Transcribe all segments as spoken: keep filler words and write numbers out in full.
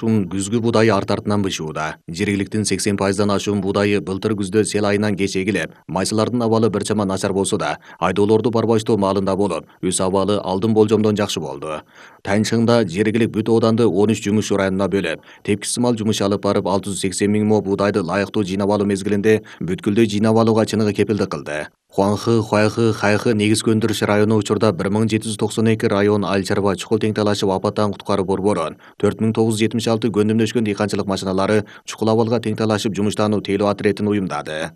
Ушун күзгү буудайы арт артынан бышууда. Жергиликтин сексен пайыздан ашуун буудайы былтыр күздө сел айынан кеч эгилип, майсылардын абалы бир чама начар болсо да, айдоолорду барбаштоо маалында болуп, өз абалы алдын болжомдон жакшы болду. Тайынчыңда жергилик бүт ооданды он үч жумуш районуна бөлүп, тепкичсымал жумуш алып барып алты жүз сексен миң мо буудайды лайыктуу жыйнап алуу мезгилинде бүткүлдөй жыйнап алууга чыныгы кепилдик кылды. Хуанхы, Хуайхы, Хайхы негизги өндүрүш району учурда бир миң жети жүз токсон эки район айыл чарба чукул тең талашып апаттан куткаруу борборун, төрт миң тогуз жүз жетимиш алты көндүмдөшкөн дыйканчылык машиналары чукул абалга тең талашып жумуштануу тейлөө отрядын уюмдады.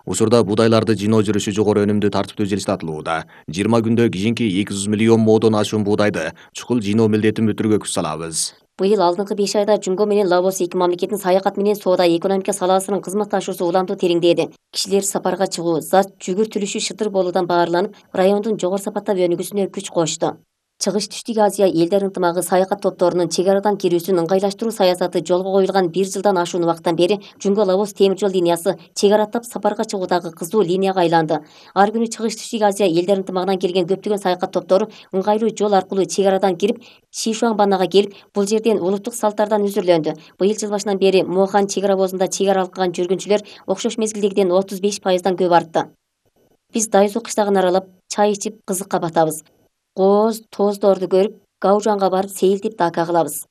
Учурда буудайларды жыйноо жүрүшү жогору өнүмдүү тартиптүү жылыстатылууда. жыйырма күндө кийинки эки жүз миллион модон ашуун буудайды чукул жыйноо милдетин бүтүрүүгө күч салабыз. Быйыл алдыңкы беш айда Жумго менен Лаос эки мамлекеттин саякат менен соода экономика саласынын кызматташуусу уламдуу тереңдеди. Кишилер сапарга чыгуу, зат жүгүртүлүшү шытыр болуудан баарланып, райондун жогору сапаттап өнүгүүсүнө күч кошто. Чыгыш Түштүк Азия элдер ынтымагы саякат топторунун чек арадан кирүүсүн ыңгайлаштыруу саясаты жолго коюлган бир жылдан ашуун убакыттан бери Жумго Лаос темир жол линиясы чек араттап сапарга чыгуудагы кызуу линияга айланды. Ар күнү Чыгыш Түштүк Азия элдер ынтымагынан келген көптөгөн саякат топтору ыңгайлуу жол аркылуу чек арадан кирип, Шишуаңбанага келип, бул жерден улуттук салттардан үзүрлөндү. Быйыл жыл башынан бери Мохан чек ара обозунда чек ара алган жүргүнчүлөр окшош мезгилдегиден отуз беш пайыздан көп артты. Биз Дайзу кыштагын аралап, чай ичип кызыкка батабыз. Кооз, тоздорду көрүп, Гаужанга барып сейилтип дака кылабыз.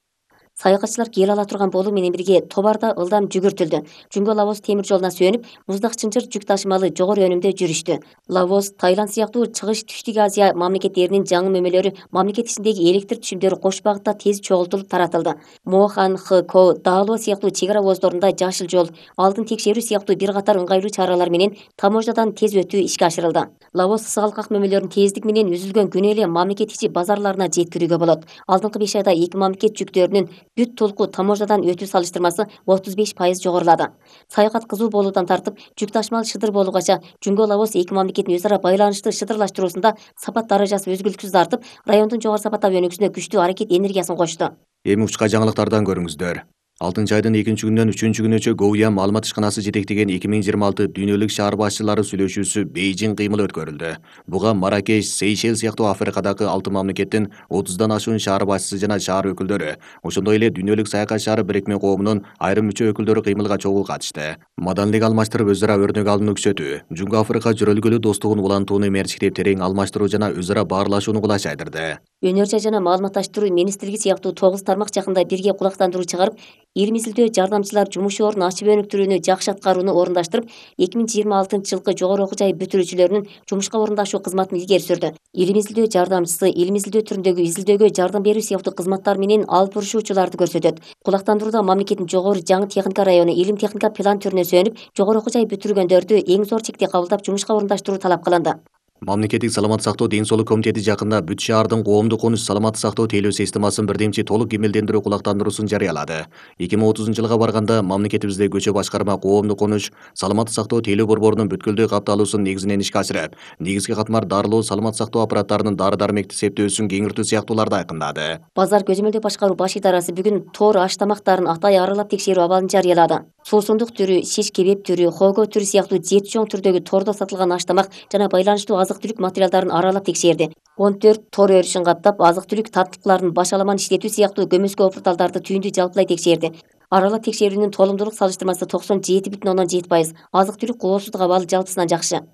Саякатчылар кел ала турган болуу менен бирге тобарда ылдам жүгүртүлдү. Жумго Лаос темир жолуна сүйөнүп, муздак чынжыр жүк ташымалы жогору өнүмдө жүрүштү. Лаос, Таиланд сыяктуу Чыгыш Түштүк Азия мамлекеттеринин жаңы мөмөлөрү мамлекет ичиндеги электр түшүмдөрү кош багытта тез чогултулуп таратылды. Мохан, Хко, Даало сыяктуу чек ара обоздорунда жашыл жол, алдын текшерүү сыяктуу бир катар ыңгайлуу чаралар менен таможнядан тез өтүү ишке ашырылды. Лаос сыгалкак мөмөлөрүн тездик менен үзүлгөн күнү эле мамлекет ичи базарларына жеткирүүгө болот. Алдыңкы беш айда эки мамлекет жүктөрүнүн бүт толку таможнядан өтүү салыштырмасы отуз беш пайыз жогорулады. Саякат кызуу болуудан тартып, жүк ташымал шыдыр болгача Жумго Лаос эки мамлекеттин өз ара байланышты шыдырлаштыруусунда сапат даражасы өзгөлүксүз артып, райондун жогору сапаттап өнүгүүсүнө күчтүү аракет энергиясын кошту. Эми учка жаңылыктардан көрүңүздөр. алтынчы айдын экинчи күнүнөн үчүнчү күнүчө Гоуян маалымат ишканасы жетектеген эки миң жыйырма алты дүйнөлүк шаар башчылары сүйлөшүүсү Бейжиң кыймылы өткөрүлдү. Буга Маракеш, Сейшел сыяктуу Африкадагы алты мамлекеттин отуздан ашуун шаар башчысы жана шаар өкүлдөрү, ошондой эле дүйнөлүк саякат шаары бирикме коомунун айрым мүчө өкүлдөрү кыймылга чогуу катышты. Маданийлик алмаштырып өз ара өрнөк алууну күчөтүү, Жумго Африка жөрөлгөлүү достугун улантууну мерчиктеп терең алмаштыруу жана өз ара баарлашууну кулайчайдырды. Өнөр жай жана маалыматташтыруу министрлиги сыяктуу тогуз тармак жакында бирге кулактандыруу чыгарып, эл изилдөө жардамчылар жумуш ордун ачып өнүктүрүүнү жакшы аткарууну орундаштырып, эки миң жыйырма алтынчы жылкы жогору окуу жай бүтүрүүчүлөрүнүн жумушка орундашуу кызматын илгери сүрдү. Илим изилдөө жардамчысы илим изилдөө түрүндөгү изилдөөгө жардам берүү сыяктуу кызматтар менен алып бурушуучуларды көрсөтөт. Кулактандырууда мамлекеттин жогору жаңы техника району илим техника план түрүнө сүйөнүп, жогору окуу жай бүтүргөндөрдү эң зор чекте кабылдап жумушка орундаштыруу талап кылынды. Мамлекеттик саламаттык сактоо ден соолук комитети жакында бүт шаардын коомдук конуш саламаттык сактоо тейлөө системасын бирдемчи толук кемелдендирүү кулактандыруусун жарыялады. эки миң отузунчу жылга барганда мамлекетибизде көчө башкарма коомдук конуш саламаттык сактоо тейлөө борборунун бүткүлдүү капталуусун негизинен ишке ашырып, негизги катмар дарылоо саламаттык сактоо аппараттарынын дары-дармекти септөөсүн кеңиртүү сыяктууларды айкындады. Базар көзөмөлдөө башкаруу баш идарасы бүгүн тоор аш тамактарын атай аралап текшерүү абалын жарыялады. Суусундук түрү, шиш кебеп түрү, хого түрү сыяктуу жети чоң түрдөгү тордо сатылган аш тамак жана байланыштуу азык-түлүк материалдарын аралап текшерди. он төрт тор өрүшүн каптап, азык-түлүк таптыктарын башаламан иштетүү сыяктуу көмөскө порталдарды түйүндү жалпылай текшерди. Аралап текшерүүнүн толумдуулук салыштырмасы токсон жети бүтүн ондон жети пайыз. Азык-түлүк коопсуздук абалы жалпысынан жакшы.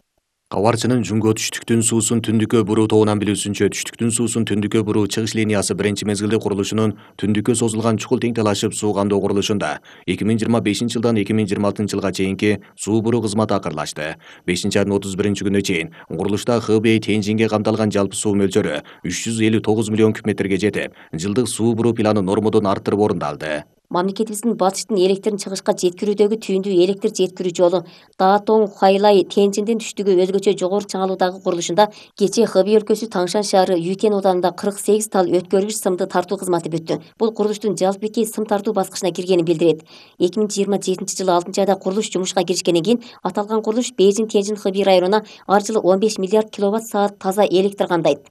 Кабарчынын Жумго түштүктүн суусун түндүккө буруу тобунан билүүсүнчө, түштүктүн суусун түндүккө буруу чыгыш линиясы биринчи мезгилде курулушунун түндүккө созулган чукул тең талашып суу камдоо курулушунда эки миң жыйырма бешинчи жылдан эки миң жыйырма алтынчы жылга чейинки суу буруу кызматы акырлашты. бешинчи айдын отуз биринчи күнүнө чейин курулушта Хэбэй Тяньжинге камтылган жалпы суу мөлчөрү үч жүз элүү тогуз миллион куб метрге жетип, жылдык суу буруу планы нормодон арттырып орундалды. Мамлекетибиздин батыштын электрин чыгышка жеткирүүдөгү түйүндүү электр жеткирүү жолу Даатong Хуайлай Тяньжиндин түштүгү өзгөчө жогору чыңалуудагы курулушунда кечээ Хэбэй өлкөсү Таңшан шаары Ютен ауданында кырк сегиз тал өткөргүч сымды тартуу кызматы бүттү. Бул курулуштун жалпы беки сым тартуу баскычына киргенин билдирет. эки миң жыйырма жетинчи жылы алтынчы айда курулуш жумушка киришкенден кийин аталган курулуш Бейжиң Тяньжин Хэбэй районуна ар жылы он беш миллиард киловатт саат таза электр кандайт.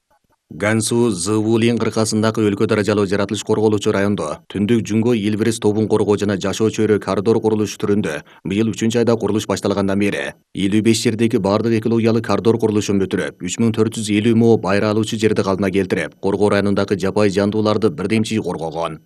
Гансу Зывулин кыркасындагы өлкө даражалуу жаратылыш корголуучу райондо түндүк Жумго Илбирис тобун коргоо жана жашоо чөйрө коридор курулушу түрүндө быйыл үчүнчү айда курулуш башталгандан бери элүү беш жердеги бардык экологиялык коридор курулушун бүтүрүп, үч миң төрт жүз элүү мо байра алуучу жерди калпына келтирип, коргоо районундагы жапайы жандууларды бирдемчи коргогон.